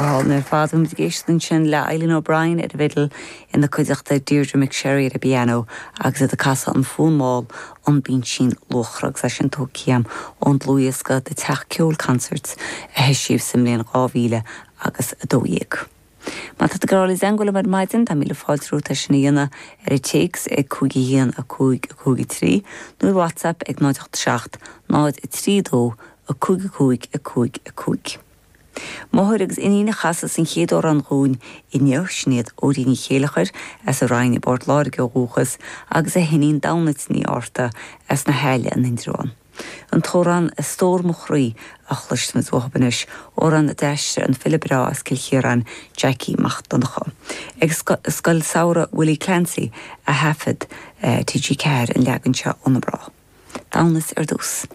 hálainn ar fad. Bhí muid ag éisteacht ansin le Eileen O'Brien ar an bhfidil ina cuideachta Deirdre McSherry ar an bpianó agus iad ag casadh an fonn mall An Binsín Luachra agus é sin tógtha agam ón dlúthdhiosca The Teach Ceoil Concerts a heisíodh sa mbliain 2012. Má tá tú ag iarraidh dul i dteangmháil liom ar maidin, tá míle fáilte romhat é sin a dhéanamh ar an téacs ag 5 1 5 5 3 nó ar WhatsApp ag 0 8 7 0 3 2 5 5 5 5. Máthair agus iníon a chasfas an chéad amhrán dhúinn inniu, sin iad Odí Ní Chéilleachair as an Rinn i bPort Láirge ó dhúchas agus a hiníon Damhnait Ní Fhátharta as na hAille in Indreabhán. An t-amhrán 'A Stór Mo Chroí' a chloisfimid uathu anois, amhrán a d'aistrigh an file breá as Cill Chiaráin, Jackie Mac Donncha. Ag Scoil Samhraidh Willie Clancy a thaifead TG4 an leagan seo ó na mná. Damhnait ar dtús.